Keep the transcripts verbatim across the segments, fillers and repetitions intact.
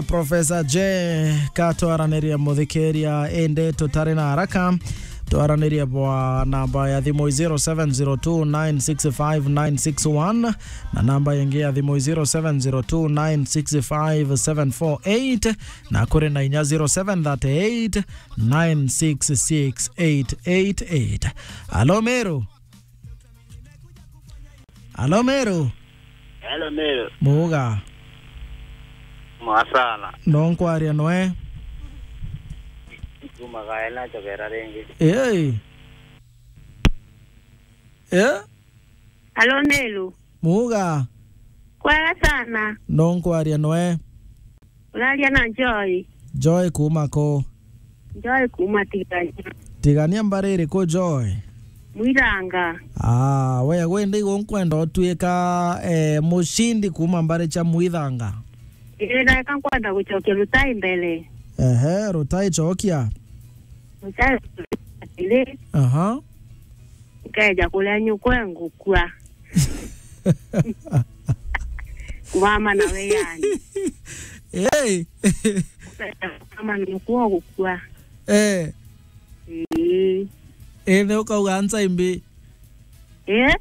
Professor J, ka twaranirie muthikiria, indi tutari na haraka. Twaranirie bwa namba ya thimu zero seven zero two nine six five nine six one, na namba ingi ya thimu zero seven zero two nine six five seven four eight, na kuri na inya zero seven thirty eight nine six six eight eight eight. Alo, Meru? Alo, Meru? Hello, Meru. Muga. Mwasana. No nkwaria noe? Kuma gaela chokera ringi. Ei. Eh? Alo, Meru. Muga. Kwega sana. No nkwaria noe? Uraria na Joy. Joy kuma ko? Joy kuma Tigania. Tigania mbari iriku, Joy? Mwithanga. Ah, we gwe ndi igu nkwenda utuika, eh, mucindi kuma mbari cia Mwithanga. Ii, ndeka nkwenda gucokia Rutai mbere. Ehe, Rutai cokia. Rutai atiri. Aha. Nkeja kuria nyukwe ngukua. Kumama na we yani. Hey. Kumama na nyukwa gukua. Eh. Eh. Eh, ne ukauga ansa imbi. Eh?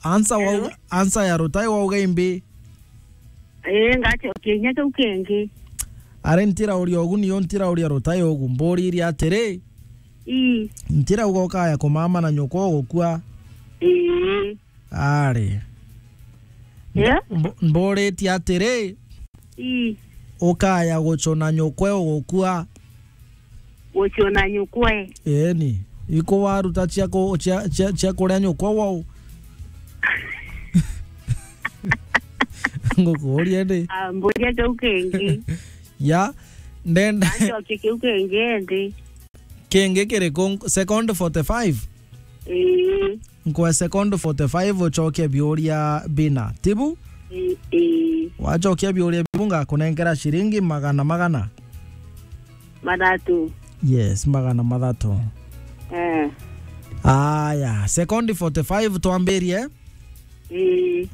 Ansa wa, hello? Ansa ya Rutai wauga imbi. Eh, ngacokia kinya kiu kingi. Ari ntirauria ugu, nio ntirauria Rutai ugu. Mburirie atiri, ii, ntirauga ukaya kumama na nyukwa ugukua. Ii. Ari. Yeah? Mb-, mburitie atiri, ii, ukaya gucuna nyukwe ugukua? Gucuna nyukwe. Eeni. Iko waruta cia ku-, cia, cia, cia kuria nyukwe wau? Ngukuuria ndi. Ah, mburia kiu kingi. Ya, ndenda. Acokie kiu kingi ndi. Kingi kiriku? Second forty-five? Ii. Nkwe second forty-five ucokie biuria bina. Tibu? Ii, ii. Wacokia biuria bibu ngakunenkera ciringi magana magana. Mathatu. Yes, magana mathatu. Eh. Aya, second forty-five twambirie. Ii.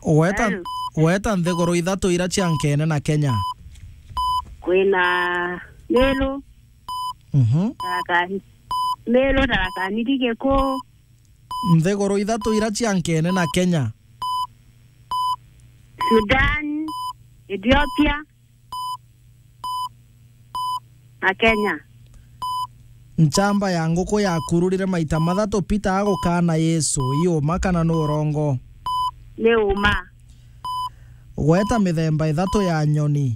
Weta, hello? Weta nthiguru ithatu ira cia nkene na Kenya. Kwina Meru. Mhm. Tharaka-, Meru, Tharaka Nithi, Gikuu. Nthiguru ithatu ira cia nkene na Kenya. Sudan, Ethiopia, na Kenya. Nchamba ya nguku yakururire maita mathatu Peter agukaana Yesu, i uma kana ni urongo? Ni uma. Gweta mithemba ithatu ya nyoni.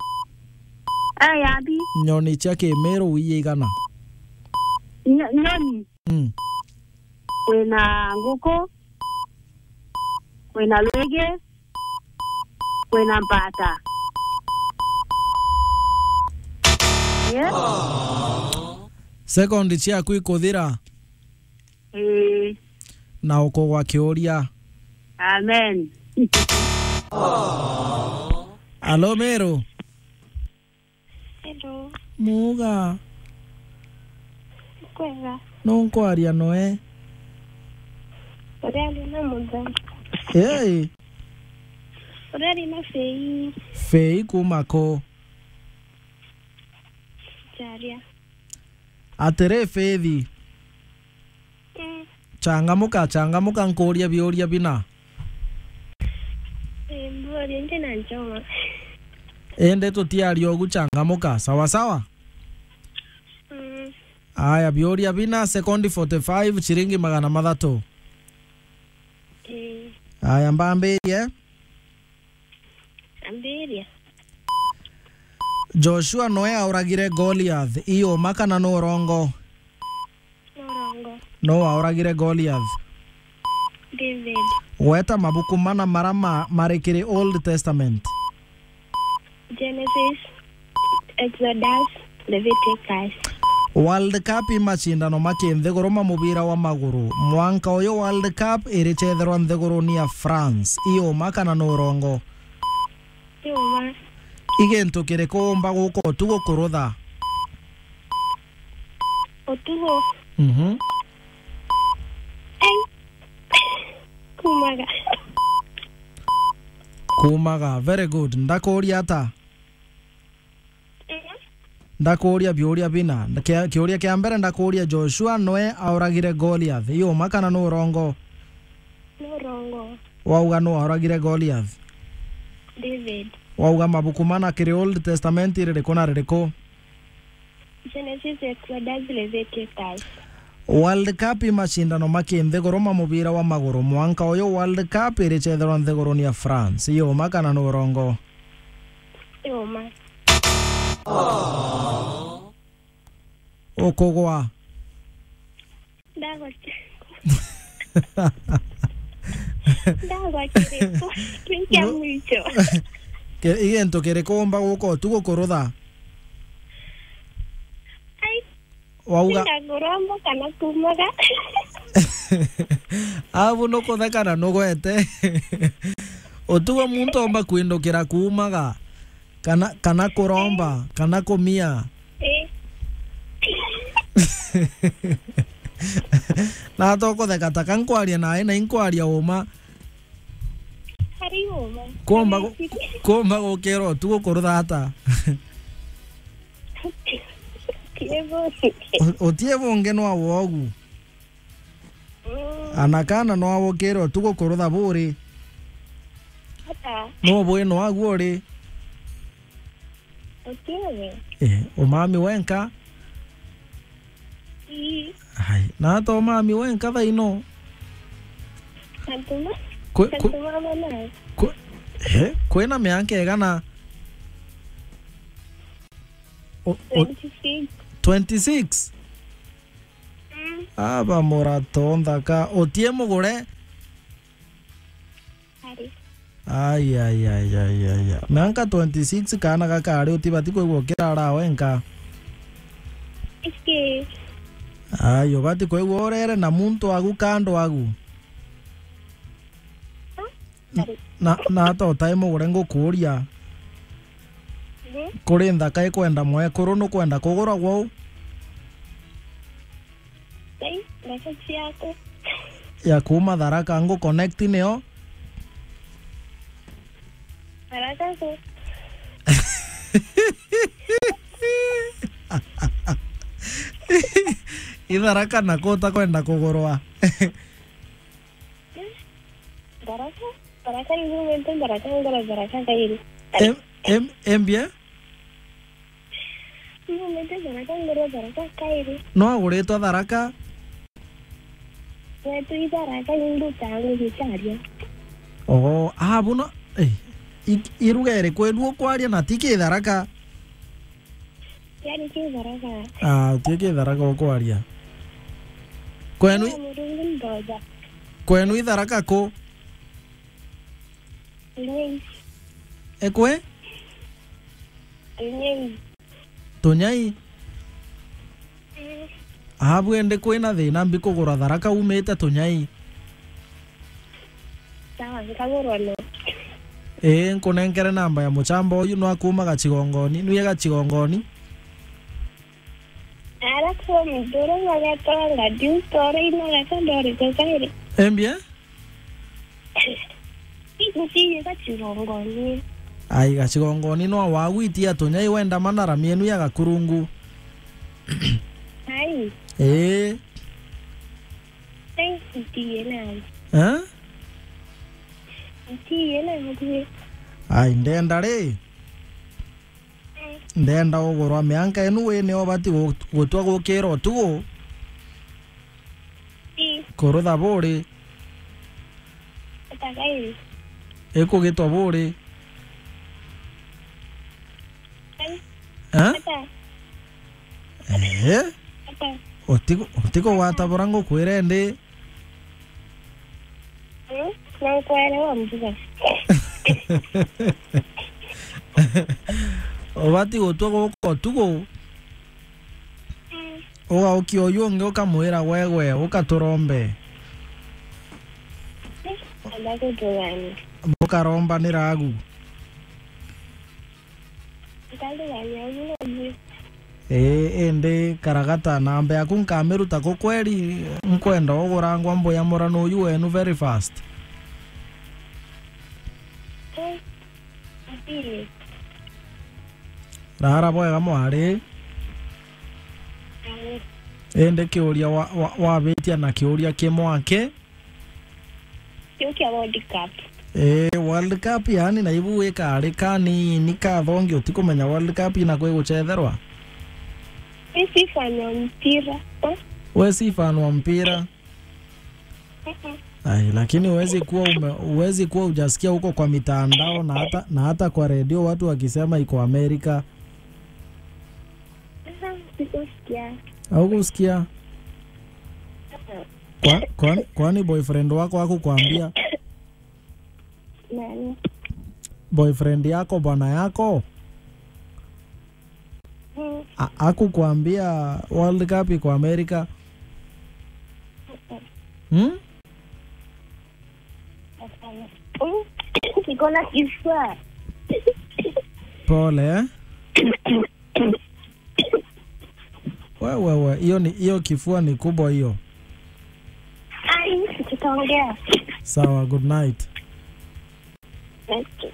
Eh, yathi. Nyoni cia Kimiru wi igana? Nyo-, nyoni. Mm. Kwina nguku, kwina rwigi, kwina mbata. Yeah. Sekondi ciaku ikuthira. Ii. Na ukugwa kiuria. Amen. Alo, Meru. Hello. Muga. Kwega. No nkwaria noe? Uriaria na Mutha. Hey. Uriaria na Fei. Fei kuma ku? Charia. Atiri, Fei. Mm. Changamuka, changamuka, nkuuria biuria bina. Eh, mbuuria ndi na njoma. Indi tutiaria ugu, changamuka. Sawa sawa? Mm. Aya, biuria bina, sekondi forty-five, ciringi magana mathatu. Eh. Aya, mbambirie. Ambiria. Joshua noe auragire Goliath, i uma kana ni urongo? Ni urongo. No wauragire Goliath? David. Gweta mabuku mana mara ma-, mari kiri Old Testament. Genesis, Exodus, Leviticus. World Cup i macindano ma kinthiguru ma mubira wa maguru. Mwanka uyu World Cup iricetherwa nthiguruni ya France. I uma kana ni urongo? I uma. I gintu kiriku umba guka utugu kurutha? Utugu? Mhm. Ai. Kumaga. Kuumaga. Very good. Ndakuuria ata? Ndakuuria biuria bina. Kia-, kiuria kia mbere ndakuuria, Joshua noe auragire Goliath. Ii uma kana ni urongo? Ni urongo. Wauga nu auragire Goliath? David. Wauga mabuku mana kiri Old Testament iririku na ririku? Genesis, Exodus, Leviticus. World Cup i macindano ma kinthiguru ma mubira wa maguru. Mwanka uyu World Cup iricetherwa nthiguruni ya France. Ii uma kana ni urongo? Ii uma. Ukugwa. Ndagwa ki-, ndagwa kiriku? Kiu kia mwicho. Ki-, i gintu kiriku umba guka utuku kurutha? Ai, wauga, tiga kuromba kana kuumaga. Abu nukutheka na nugwete. Utugo muntu omba kwindukira kuumaga. Kana, kana kuromba, kana kumia. Ii. Na to kutheka ta ka nkwaria nae, na inkwaria uma. Ari uma. Kuomba gu-, kuomba gukira utuku kurutha ata? Utie bungi. U-, utie bungi nwa wogu. Mm. Ana kana no agukire utuku kurutha buri? Ata? No bwi no agu uri? Utiwe. Eh, umami wenka? Ii. Ai, na to umami wenka thaino? Antuma. Kwe-, kwe-, antuma mana. Kwe-, eh, kwina mianka igana? O-, o-, twenty-six. Twenty-six? Mm. Aba murato nthaka. Utie mugure? Ari. Ai, ai, ai, ai, ai, ai. Mianka twenty-six kaana gakari utibati kwigua ukirara wenka. Iki. Ai, ubati kwigua urere na muntu agu kando agu. Ah, ari. Na, na ata utai mugure ngukuuria? Mhm. Kuri nthaka ikwenda mwekuru nukwenda kugura gwau? Ai, nthaka ciaku. Ya kuuma Tharaka ngu connect niyo? Tharaka ku. I Tharaka na ku utakwenda kugurwa? Tharaka, Tharaka ni nyumite Tharaka, ngura Tharaka kairi. Em-, em-, embia? Nyumite Tharaka, ngura Tharaka kairi. No aguritwe Tharaka? Wetu i Tharaka, ni nduta ngugi caria. Oo, ah, buno, eh, i-, iruga iriku enu ukwaria na ti ki Tharaka? Kiari ki Tharaka. Ah, ti ki Tharaka ukwaria. Kwenu i-, no, Murungu ndoja. Kwenu i Tharaka ku? Tunyei. Ekwe? Tunyei. Tunyai? Mm. Abu ende kwina thina mbi kugura Tharaka umite Tunyai? Sawa, nkagurwa no. Ii, nkunenkere namba ya muchamba uyu, no akuuma Gachigongoni. Nwie Gachigongoni? Ara kwa mdoro magatanga diu tore ina gaka ndori tokaire. Embia? Ntiye Gachigongoni. Ai, Gachigongoni no wagwitia Tunyai wenda manara mienu ya Gakurungu. Ai. Ii. Ai, ntiye nawe. Eh? Ntiye nawe. Ai, ndenda ri? Ndenda ugurwa mianka inu wi nio ubati gu-, gutua gukira utugu. Ii. Kurutha buri. Ata kairi. Ikugitwa buri. Ai. Eh? Ata. Eh? Ata. Utiku-, utikugwata bura ngukwire ndi. Mm, na nkwere wa mbuga. Ubati gutua guka utugu. Mm. Ugaukia uyu ungi ukamwira, "Gwegwe, uka turombe." Anda kutuganira. Bukarombanira agu. Nkarigania uguo. Ii, indi karagata, namba yaku nkamiruta ku kweri, nkwenda ugurangwa mbuya murano uyu wenu very fast. Mbili. Rara bwega mwari. Indi kiuria wa, wa, wabitia na kiuria kimwe aki? Kiu kia World Cup. Ii, World Cup yani na ibu wikari kanini kathongi utikumenya World Cup ina kwi gucetherwa? Mi si fan wa mpira. We si fan wa mpira? Mm-mm. Ai, lakini huwezi kuwa ume-, huwezi kuwa hujasikia huko kwa mitandao na hata, na hata kwa redio watu wakisema iko Amerika. Aha, sikusikia. Haukusikia? Mm-mm. Kwa-, kwani, kwani boyfriend wako hakukwambia? Nani? Boyfriend yako, bwana yako? Mm. A-, hakukwambia World Cup iko Amerika? Mm-mm. Hmm? Hapana. Mm. Niko na kifua. Pole, eh? Wewe, wewe, hiyo ni, hiyo kifua ni kubwa hiyo. Ai, tutaongea. Sawa, good night. Okay.